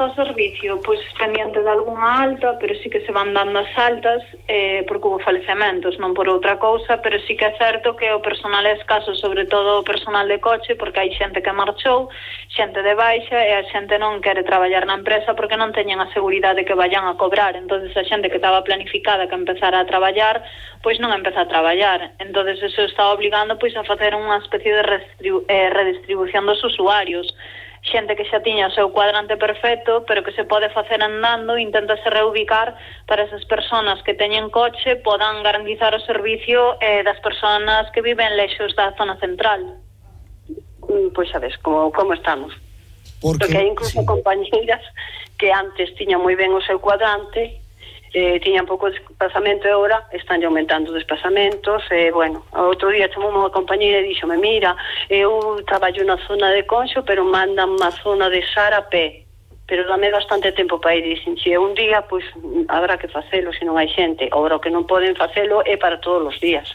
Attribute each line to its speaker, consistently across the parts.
Speaker 1: está o servicio? Pois pendiente de algunha alta, pero sí que se van dando as altas porque hubo falecementos, non por outra cousa, pero sí que é certo que o personal é escaso, sobre todo o personal de coche, porque hai xente que marchou, xente de baixa, e a xente non quere traballar na empresa porque non teñen a seguridade que vayan a cobrar. Entonces a xente que estaba planificada que empezara a traballar, pois non empeza a traballar. Entonces eso está obligando pois a facer unha especie de redistribución dos usuarios. Xente que xa tiña o seu cuadrante perfecto, pero que se pode facer andando, inténtase reubicar para esas persoas que teñen coche podan garantizar o servicio das persoas que viven lexos da zona central.
Speaker 2: Pois sabes, como estamos. Porque hai incluso
Speaker 3: sí,
Speaker 2: compañeiras que antes tiñan moi ben o seu cuadrante, tiñan pouco desplazamento e agora están aumentando desplazamentos. Bueno, outro día chamou unha compañeira e díxome, mira, eu traballo na zona de Conxo, pero mandan a zona de Sar a pé, pero dame bastante tempo para ir. Dicen, se un día, pois habrá que facelo se non hai xente. Agora o que non poden facelo é para todos os días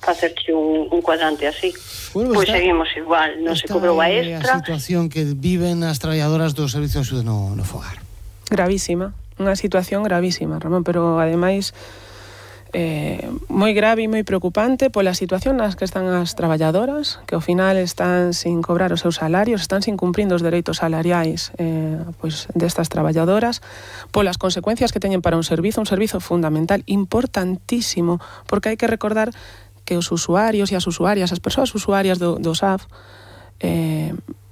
Speaker 2: facerche un cuadrante así.
Speaker 3: Bueno,
Speaker 2: pois seguimos igual, non se cobrou a extra.
Speaker 3: A situación que viven as traballadoras do Servicio de Axuda no Fogar.
Speaker 4: Gravísima. Unha situación gravísima, Ramón, pero ademais moi grave e moi preocupante pola situación nas que están as traballadoras, que ao final están sin cobrar os seus salarios, están sin cumprindo os dereitos salariais pois destas traballadoras, polas consecuencias que teñen para un servizo fundamental, importantísimo, porque hai que recordar que os usuarios e as usuarias, as persoas usuarias do SAF,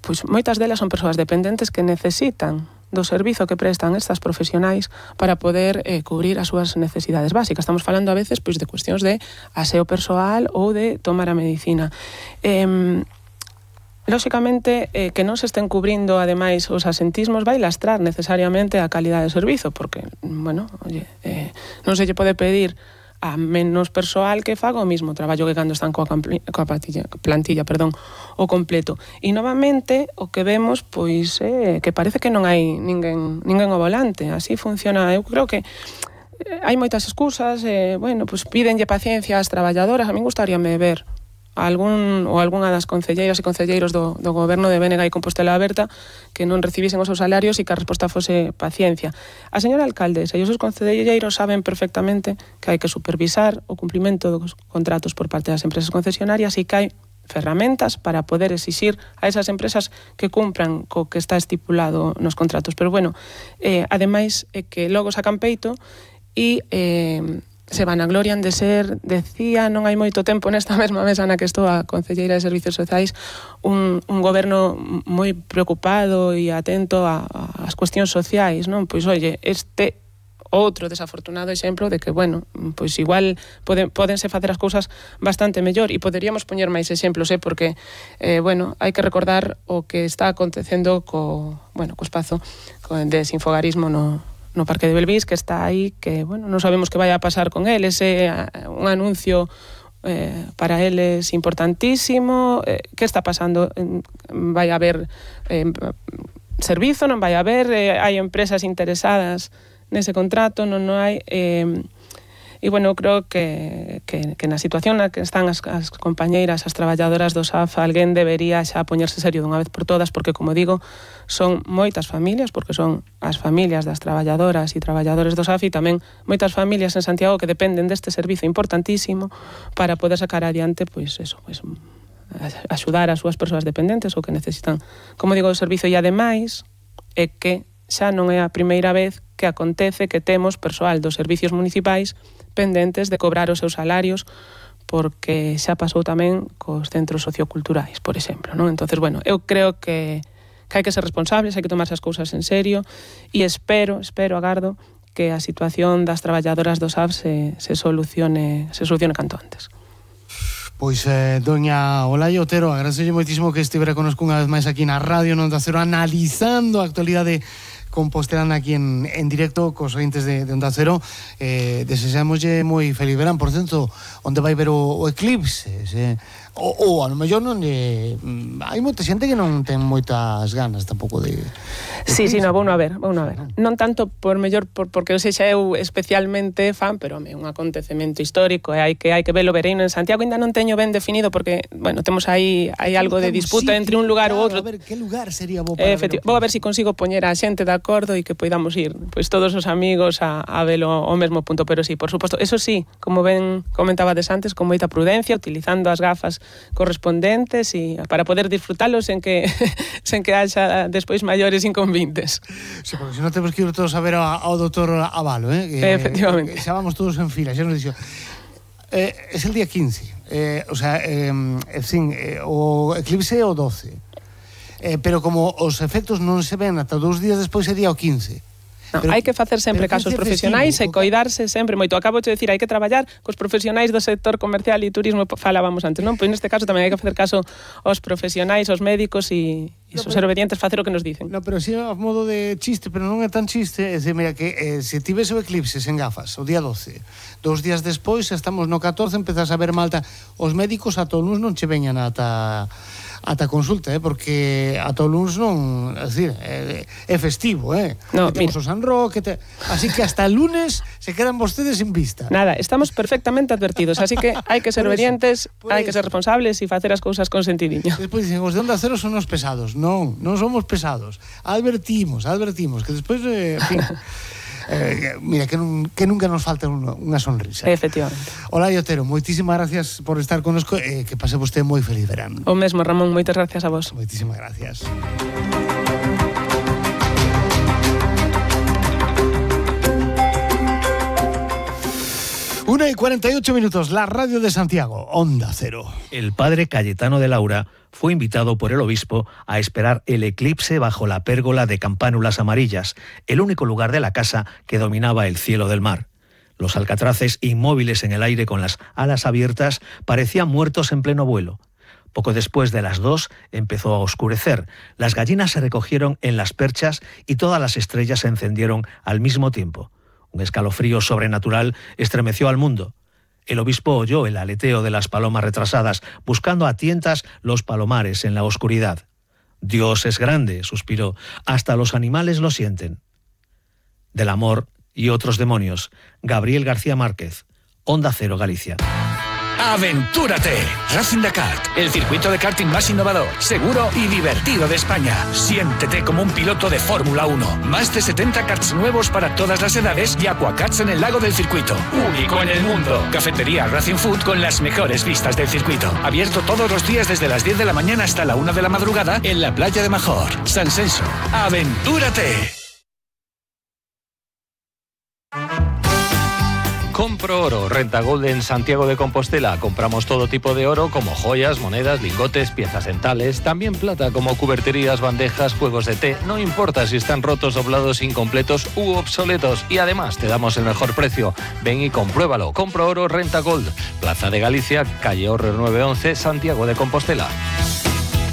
Speaker 4: pois moitas delas son persoas dependentes que necesitan do servizo que prestan estas profesionais para poder cubrir as súas necesidades básicas. Estamos falando a veces pois de cuestións de aseo persoal ou de tomar a medicina. Lóxicamente, que non se estén cubrindo, ademais, os asentismos vai lastrar necesariamente a calidade do servizo, porque, bueno, non se lle pode pedir a menos persoal que faga o mismo traballo que cando están coa plantilla, o completo. E novamente o que vemos pois que parece que non hai ninguén ao volante. Así funciona. Eu creo que hai moitas excusas, bueno, pois pídenlle paciencia ás traballadoras. A min gustaríame ver algunha das concelleiras e concelleiros do goberno de Bénega e Compostela Aberta que non recibisen os seus salarios e que a resposta fose paciencia. A señora alcaldesa e os seus concelleiros saben perfectamente que hai que supervisar o cumprimento dos contratos por parte das empresas concesionarias e que hai ferramentas para poder exixir a esas empresas que cumpran co que está estipulado nos contratos. Pero bueno, ademais que logo sacan peito e se vanaglorian de ser, decía non hai moito tempo nesta mesma mesa na que estou a concelleira de Servicios Sociais, un goberno moi preocupado e atento ás cuestións sociais, non? Pois, oye, este outro desafortunado exemplo de que, bueno, pois igual podense facer as cousas bastante mellor e poderíamos poñer máis exemplos, porque, bueno, hai que recordar o que está acontecendo co espazo de Sinfogarismo no Parque de Belvís, que está aí, que, bueno, non sabemos que vai a pasar con el. Ese un anuncio para eles importantísimo. Que está pasando? Vai haber servizo, non vai haber? Hai empresas interesadas nese contrato, non hai... E, bueno, creo que na situación na que están as compañeiras, as traballadoras do SAF, alguén debería xa poñerse serio dunha vez por todas, porque, como digo, son moitas familias, porque son as familias das traballadoras e traballadores do SAF e tamén moitas familias en Santiago que dependen deste servizo importantísimo para poder sacar adiante, pois, eso, pois, axudar as súas persoas dependentes ou que necesitan, como digo, o servizo. E, ademais, é que xa non é a primeira vez que acontece que temos persoal dos servicios municipais pendentes de cobrar os seus salarios, porque xa pasou tamén cos centros socioculturais, por exemplo, non? Entonces, bueno, eu creo que hai que ser responsables, hai que tomarse as cousas en serio e espero, agardo que a situación das traballadoras do SAF se solucione canto antes.
Speaker 3: Pois, doña Olaia Otero, agradecelle moitísimo que estivera connosco unha vez máis aquí na Radio Onda Cero analizando a actualidade compostelana aquí en directo cos ointes de Onda Cero. Deseámoslle moi feliz verán. Por certo, onde vai ver o eclipse? ou a lo mellor non hai moita xente que non ten moitas ganas tampouco de
Speaker 4: Sí, no, vou a ver. Non tanto por mellor porque eu sexa eu especialmente fan, pero é un acontecemento histórico e hai que velo. Vereino en Santiago ainda non teño ben definido porque, bueno, temos aí algo de disputa entre un lugar ou outro.
Speaker 3: A ver, que lugar sería bo para ver?
Speaker 4: Vou a ver se consigo poñer a xente de acordo e que poidamos ir, pois todos os amigos a velo ao mesmo punto, pero sí, por suposto, eso sí, como ben comentabades antes, con moita prudencia, utilizando as gafas correspondentes e para poder disfrutalo sen que haxa despois maiores inconvenientes.
Speaker 3: Sí, porque se non temos que ir todos a ver ao doutor Abalo,
Speaker 4: Efectivamente.
Speaker 3: Que xa vamos todos en fila, xa nos dixo. Es el día 15, o eclipse é o 12, pero como os efectos non se ven ata 2 días despois é día o 15.
Speaker 4: No, hai que facer sempre casos profesionais e coidarse sempre moito. Acabo de decir, hai que traballar cos profesionais do sector comercial e turismo, falábamos antes, non? Pois neste caso tamén hai que facer caso aos profesionais, aos médicos e ser obedientes, facer o que nos dicen.
Speaker 3: No, pero si a modo de chiste, pero non é tan chiste, é dicir, mira, que se tivese o eclipse sen gafas o día 12, 2 días despois, estamos no 14, empezas a ver malta, os médicos ata o luns non che veñan ata consulta, porque ata o luns non, é dicir, é festivo,
Speaker 4: No,
Speaker 3: temos o San Roque, así que hasta el lunes se quedan vostedes sin vista.
Speaker 4: Nada, estamos perfectamente advertidos, así que hai que ser obedientes, hai que ser responsables e facer as cousas con sentidiño.
Speaker 3: Despois dicen, os de Onda Cero son os pesados. Non somos pesados. Advertimos, que despois, en fin, mira, que nunca nos falta unha sonrisa.
Speaker 4: Efectivamente.
Speaker 3: Olaia Otero, moitísimas gracias por estar connosco e que pase vostede moi feliz verán.
Speaker 4: O mesmo, Ramón, moitas gracias a vos.
Speaker 3: Moitísimas gracias. Una y 48 minutos, la radio de Santiago, Onda Cero.
Speaker 5: El padre Cayetano de Laura fue invitado por el obispo a esperar el eclipse bajo la pérgola de campánulas amarillas, el único lugar de la casa que dominaba el cielo del mar. Los alcatraces, inmóviles en el aire con las alas abiertas, parecían muertos en pleno vuelo. Poco después de las 2 empezó a oscurecer, las gallinas se recogieron en las perchas y todas las estrellas se encendieron al mismo tiempo. Un escalofrío sobrenatural estremeció al mundo. El obispo oyó el aleteo de las palomas retrasadas, buscando a tientas los palomares en la oscuridad. Dios es grande, suspiró, hasta los animales lo sienten. Del amor y otros demonios, Gabriel García Márquez, Onda Cero, Galicia.
Speaker 6: ¡Aventúrate! Racing Dakar, el circuito de karting más innovador, seguro y divertido de España. Siéntete como un piloto de Fórmula 1. Más de 70 karts nuevos para todas las edades y aquakarts en el lago del circuito. Único en el mundo. Cafetería Racing Food con las mejores vistas del circuito. Abierto todos los días desde las 10 de la mañana hasta la 1 de la madrugada en la playa de Major, San Senso. ¡Aventúrate!
Speaker 7: Compro Oro, Renta Gold en Santiago de Compostela. Compramos todo tipo de oro como joyas, monedas, lingotes, piezas dentales, también plata como cuberterías, bandejas, juegos de té. No importa si están rotos, doblados, incompletos u obsoletos. Y además te damos el mejor precio. Ven y compruébalo. Compro Oro, Renta Gold. Plaza de Galicia, calle Horrer 911, Santiago de Compostela.